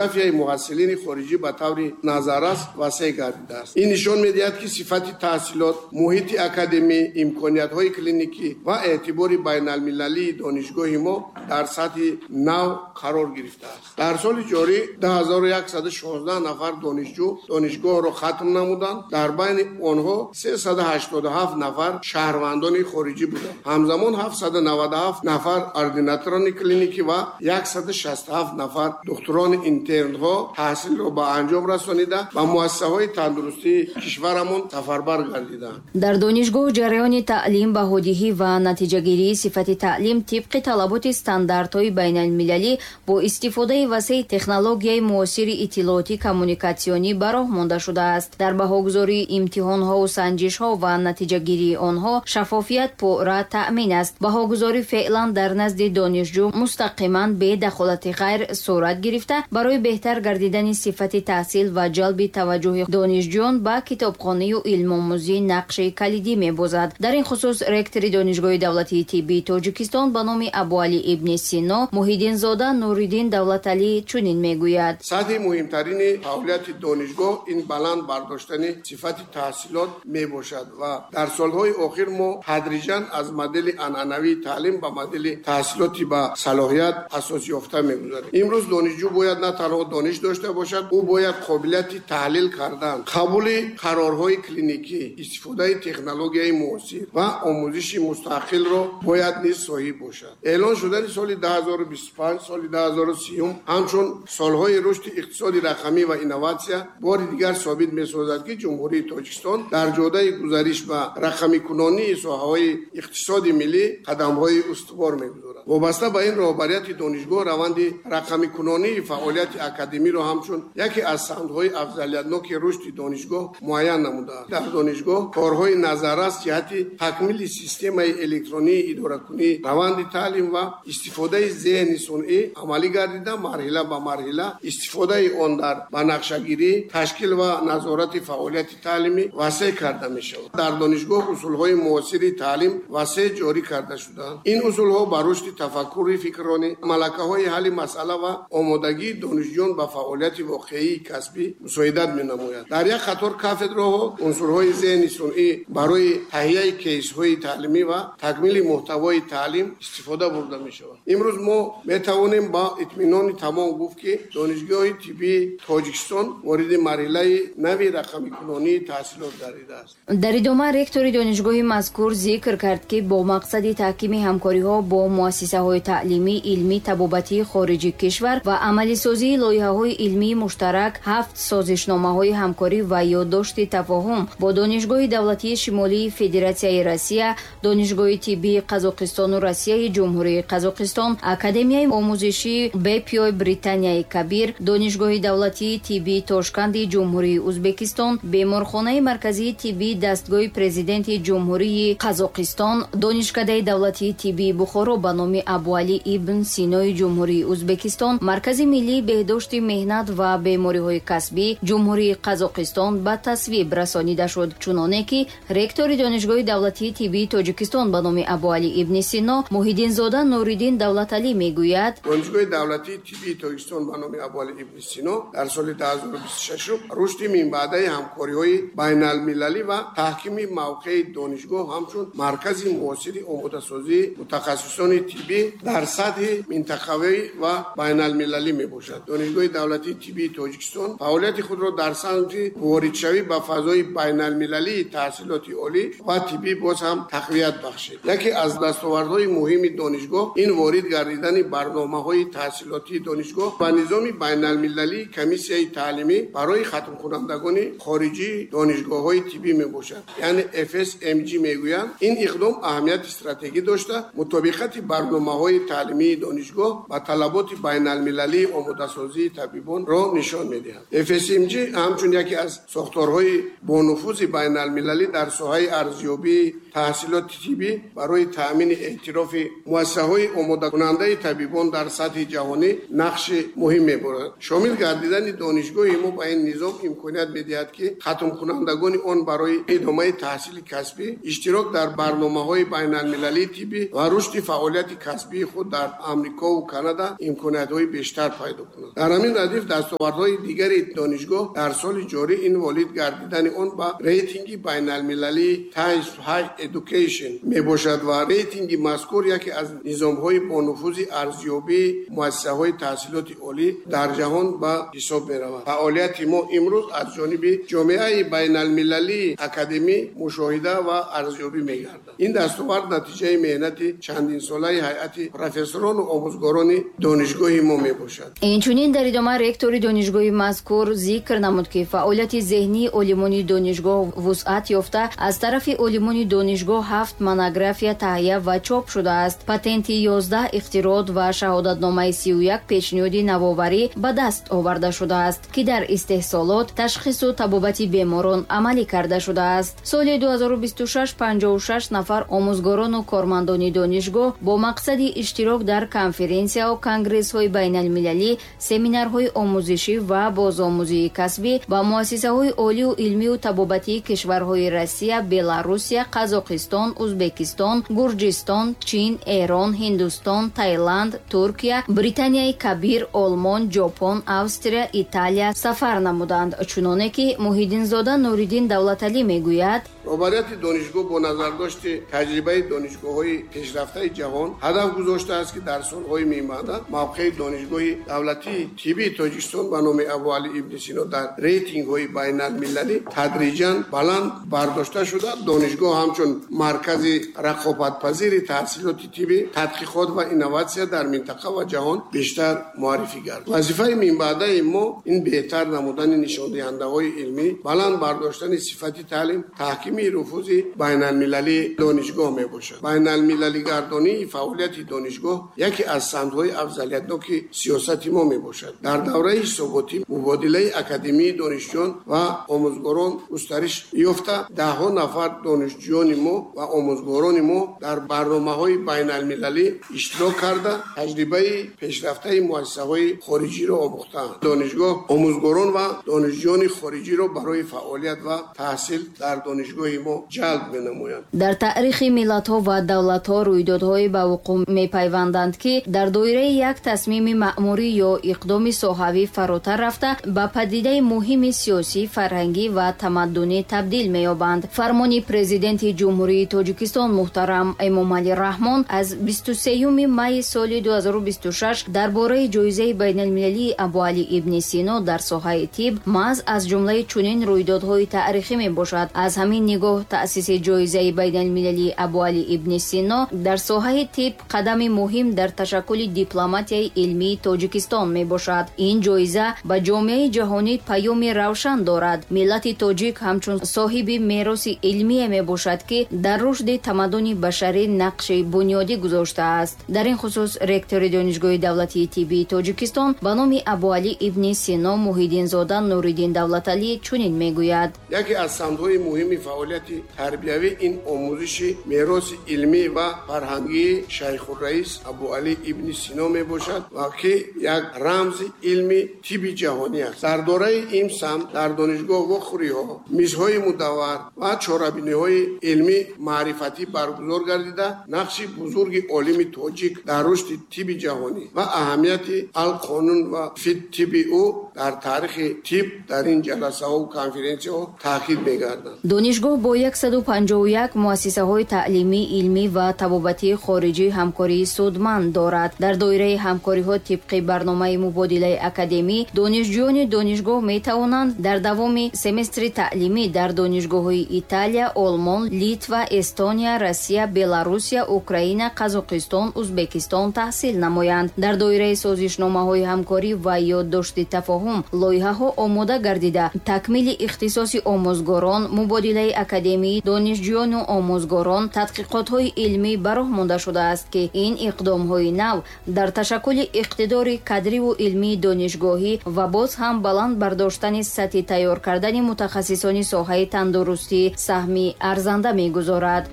Демографияи муҳассилини хориҷӣ ба таври назаррас васеъ гардидааст. Ин нишон медиҳад, ки сифати таҳсилот, муҳити академӣ, имкониятҳои клиникӣ ва эътибори байналмилалии донишгоҳи мо дар сатҳи нав қарор гирифтааст. Дар соли ҷорӣ 2116 нафар донишҷӯ донишгоҳро хатм намуданд. Дар байни онҳо 387 нафар шаҳрвандони хориҷӣ буданд. Ҳамзамон 797 нафар ординаторони клиникӣ ва 167 нафар духтурони интернҳо таҳсилро ба анҷом расонида, ба муассисаҳои тандурустии кишварамон сафарбар гардиданд. Дар донишгоҳ ҷараёни таълим, баҳодиҳӣ ва натиҷагирии сифати таълим тибқи талаботи стандартҳои байналмилалӣ бо истифодаи васеи технологияи муосири иттилоотӣ коммуникатсионӣ ба роҳ монда шудааст. Дар баҳогузории имтиҳонҳову санҷишҳо ва натиҷагирии онҳо шаффофият пурра таъмин аст. Баҳогузорӣ феълан дар назди донишҷӯ мустақиман бе дахолати ғайр сурат гирифта, барои беҳтар гардидани сифати таҳсил ва ҷалби таваҷҷӯҳи донишҷӯён ба китобхонию илмомӯзӣ нақши калидӣ мебозад. Дар ин хусус ректори Донишгоҳи давлатии тиббии Тоҷикистон ба номи Абуалӣ ибни Сино Муҳиддинзода Нуриддин Давлаталӣ чунин мегӯяд: Сатҳи муҳимтарини фаъолияти донишгоҳ ин баланд бардоштани сифати таҳсилот мебошад ва дар солҳои охир мо тадриҷан аз модели анъанавии таълим ба модели таҳсилоти ба салоҳият асос ёфта мегузарем. Имрӯз донишҷӯ бояд на танҳо дониш дошта бошад, ӯ бояд қобилияти таҳлил кардан, қабули қарорҳои клиникӣ, истифодаи технологияи муосир ва омӯзиши мустақилро бояд низ соҳиб бошад. Эълон шудани соли 2025, соли 2030 ҳамчун солҳои рушди иқтисоди рақамӣ ва инноватсия бори дигар собит месозад, ки Ҷумҳурии Тоҷикистон дар ҷодаи гузариш ба рақамикунонии соҳаҳои иқтисоди миллӣ қадамҳои устувор мегузорад. Вобаста ба ин, роҳбарияти донишгоҳ раванди рақамикунонии фаъолияти академиро ҳамчун яке аз самтҳои афзалиятноки рушди донишгоҳ муайян намудааст. Дар донишгоҳ корҳои назаррас ҷиҳати такмили системаи электронии идоракунии раванди таълим ва истифодаи зеҳни сунъӣ амалӣ гардида, марҳила ба марҳила истифодаи он дар банақшагирӣ, ташкил ва назорати фаъолияти таълимӣ васеъ карда мешавад. Дар донишгоҳ усулҳои муосири таълим васеъ ҷорӣ карда шудаанд. Ин усулҳо ба рушди тафаккури фикронӣ, малакаҳои ҳалли масъала ва омодагии донишҷӯён ба фаъолияти воқеии касбӣ мусоидат менамояд. Дар як қатор кафедраҳо унсурҳои зеҳни сунъӣ барои таҳияи кейсҳои таълимӣ ва такмили муҳтавои таълим истифода бурда мешавад. Имрӯз мо метавонем ба итминони тамом гуфт, ки Донишгоҳи тиббии Тоҷикистон вориди марҳилаи нави рақамикунонии таҳсилот гардидааст. Дар идома ректори донишгоҳи мазкур зикр кард, ки бо мақсади таҳкими ҳамкориҳо бо муассисаҳои таълимӣ, илмӣ, табобатии хориҷи кишвар ва амалисозии лоиҳаҳои илмии муштарак ҳафт созишномаҳои ҳамкорӣ ва ёддошти тафоҳум бо Донишгоҳи давлатии Шимолии Федератсияи Россия, Донишгоҳи тиббии Қазоқистону Россияи Ҷумҳурии Қазоқистон, Академияи омӯзишии Бепиои Британияи Кабир, Донишгоҳи давлатии тиббии Тошканди Ҷумҳурии Ӯзбекистон, Беморхонаи марказии тиббии дастгоҳи Президенти Ҷумҳурии Қазоқистон, Донишкадаи давлатии тиббии Бухоро ба номи Абуалӣ ибн Синои Ҷумҳурии Ӯзбекистон, Маркази миллии беҳдошти меҳнат ва бемориҳои касбӣ Ҷумҳурии Қазоқистон ба тасвиб расонида шуд. Чуноне ки ректори Донишгоҳи давлатии тиббии Тоҷикистон ба номи Абуалӣ ибни Сино Муҳиддинзода Нуриддин Давлаталӣ мегӯяд: Донишгоҳи давлатии тиббии Тоҷикистон ба номи Абуалӣ ибни Сино дар соли 2026 рушди минбаъдаи ҳамкориҳои байналмилалӣ ва таҳкими мавқеи донишгоҳ ҳамчун маркази муосири омодасозии мутахассисони тиббӣ дар сатҳи минтақавӣ ва байналмилалӣ мебошад. Донишгоҳи давлатии тиббии Тоҷикистон фаъолияти худро дар самти воридшавӣ ба фазои байналмилалии таҳсилоти олӣ ва тиббӣ боз ҳам тақвият бахшид. Яке аз дастовардҳои муҳими донишгоҳ ин ворид гардидани барномаҳои таҳсилотии донишгоҳ ба низоми байналмилалии комиссияи таълимӣ барои хатмкунандагони хориҷии донишгоҳҳои тиббӣ мебошад, яъне FSMG мегӯянд. Ин иқдом аҳамияти стратегӣ дошта, мутобиқати барномаҳои таълимии донишгоҳ ба талаботи байналмилалии омодасозии табибонро нишон медиҳад. FSMG ҳамчун яке аз сохторҳои бонуфузи байналмилалӣ дар соҳаи арзёбии таҳсилоти тиббӣ барои таъмини эътирофи муассисаҳои омодакунандаи табибон дар сатҳи ҷаҳонӣ нақши муҳим мебарад. Шомил гардидани донишгоҳи мо ба ин низом имконият медиҳад, ки хатмкунандагони он барои идомаи таҳсили касбӣ, иштирок дар барномаҳои байналмилалии тиббӣ ва рушди фаъолияти касбии худ дар Амрико ва Канада имкониятҳои бештар пайдо кунанд. Дар ҳамин радиф дастовардҳои дигари донишгоҳ дар соли ҷорӣ ин ворид гардидани он ба рейтинги байналмилалии Times Higher Education мебошад ва рейтинги мазкур яке аз низомҳои бонуфузи арзёбии муассисаҳои таҳсилоти олӣ дар ҷаҳон ба ҳисоб меравад. Фаъолияти мо имрӯз аз ҷониби ҷомеаи байналмилалии академӣ мушоҳида ва арзёбӣ мегардад. Ин дастовард натиҷаи меҳнати чандинсолаи ҳайати профессорону омӯзгорони донишгоҳи мо мебошад. Инчунин дар идома ректори донишгоҳи мазкур зикр намуд, ки фаъолияти зеҳнии олимони донишгоҳ вусъат ёфта, аз тарафи олимони донишгоҳ 7 монография таҳия ва чоп шудааст. Патенти 11 ихтироот ва шаҳодатномаи 31 пешниҳоди навоварӣ ба даст оварда шудааст, ки дар истеҳсолот, ташхису табобати беморон амалӣ карда шудааст. Соли 2026 56 нафар омӯзгорону кормандони донишгоҳ бо мақсади иштирок дар конференсияҳо, конгрессҳои байналмилалӣ, семинарҳои омӯзишӣ ва бозомӯзии касбӣ ба муассисаҳои олию илмию табобатии кишварҳои Россия, Беларусия, Қазоқистон, Узбекистон, Гурҷистон, Чин, Эрон, Ҳиндустон, Таиланд, Туркия, Британияи Кабир, Олмон, Ҷопон, Австрия, Италия сафар намуданд. Чуноне ки Муҳиддинзода Нуриддин Давлаталӣ мегӯяд: Роҳбарияти донишгоҳ бо назардошти таҷрибаи донишгоҳҳои пешрафтаи ҷаҳон ҳадаф гузоштааст, ки дар солҳои минбаъда мавқеи донишгоҳи давлатии тиббии Тоҷикистон ба номи Абуалӣ ибни Сино дар рейтингҳои байналмилалӣ тадриҷан баланд бардошта шуда, донишгоҳ ҳамчун маркази рақобатпазири таҳсилоти тиббӣ, тадқиқот ва инноватсия дар минтақа ва ҷаҳон бештар муаррифӣ гардад. Вазифаи минбаъдаи мо ин беҳтар намудани нишондиҳандаҳои илмӣ, баланд бардоштани сифати таълим, таҳкими нуфузи байналмилалии донишгоҳ мебошад. Байналмилалигардонии фаъолияти донишгоҳ яке аз самтҳои афзалиятноки сиёсати мо мебошад. Дар давраи ҳисоботӣ мубодилаи академии донишҷӯён ва омӯзгорон густариш ёфта, даҳҳо нафар донишҷӯёни мо ва омӯзгорони мо дар барномаҳои байналмилалӣ иштирок карда, таҷрибаи пешрафтаи муассисаҳои хориҷиро омӯхтаанд. Донишгоҳ омӯзгорон ва донишҷӯёни хориҷиро барои фаъолият ва таҳсил дар донишгоҳи мо ҷалб менамоянд. Дар таърихи миллатҳо ва давлатҳо рӯйдодҳое ба вуқӯъ мепайванданд, ки дар доираи як тасмими маъмурӣ ё иқдоми соҳавӣ фаротар рафта, ба падидаи муҳими сиёсӣ, фарҳангӣ ва тамаддунӣ табдил меёбанд. Фармони Президенти Ҷумҳурии Тоҷикистон муҳтарам Эмомалӣ Раҳмон аз 23 майи соли 2026 дар бораи ҷоизаи байналмилалии Абуалӣ ибни Сино дар соҳаи тиб маҳз аз ҷумлаи чунин рӯйдодҳои таърихӣ мебошад. Аз ҳамин нигоҳ таъсиси ҷоизаи байналмилалии Абуалӣ ибни Сино дар соҳаи тиб қадами муҳим дар ташаккули дипломатияи илмии Тоҷикистон мебошад. Ин ҷоиза ба ҷомеаи ҷаҳонӣ паёми равшан дорад. Миллати тоҷик ҳамчун соҳиби мероси илмие мебошад, ки дар рушди тамаддуни башарӣ нақши бунёдӣ гузоштааст. Дар ин хусус ректори Донишгоҳи давлатии тиббии Тоҷикистон ба номи Абуалӣ ибни Сино Муҳиддинзода Нуриддин Давлаталӣ чунин мегӯяд: Яке аз самтҳои муҳими фаъолияти тарбиявӣ ин омӯзиши мероси илмӣ ва фарҳангии Шайхурраис Абуалӣ ибни Сино мебошад ва ки як рамзи илми тибби ҷаҳонӣ аст. Дар дораи ин самт дар донишгоҳ вохӯриҳо, мизҳои мудаввар ва чорабиниҳои илмӣ маърифатӣ баргузор гардида, нақши бузурги олими тоҷик дар рушди тибби ҷаҳонӣ ва аҳамияти алқонун ва фит тибби ӯ дар таърихи тиб дар ин ҷаласаҳо конференсияҳо таъкид мегарданд. Донишгоҳ бо 151 муассисаҳои таълимӣ, илмӣ ва табобатии хориҷӣ ҳамкории судманд дорад. Дар доираи ҳамкориҳо тибқи барномаи мубодилаи академӣ донишҷӯёни донишгоҳ метавонанд дар давоми семестри таълимӣ дар донишгоҳҳои Италия, Олмон, Литва, Эстония, Россия, Беларусия, Украина, Қазоқистон, Узбекистон таҳсил намоянд. Дар доираи созишномаҳои ҳамкорӣ ва ёддошти тафоҳум лоиҳаҳо омода гардида, такмили ихтисоси омӯзгорон, мубодилаи академии донишҷӯёну омӯзгорон, тадқиқотҳои илмӣ ба роҳ монда шудааст, ки ин иқдомҳои нав дар ташаккули иқтидори кадриву илмии донишгоҳӣ ва боз ҳам баланд бардоштани сатҳи тайёр кардани мутахассисони соҳаи тандурустӣ саҳми арзанда мегузорад.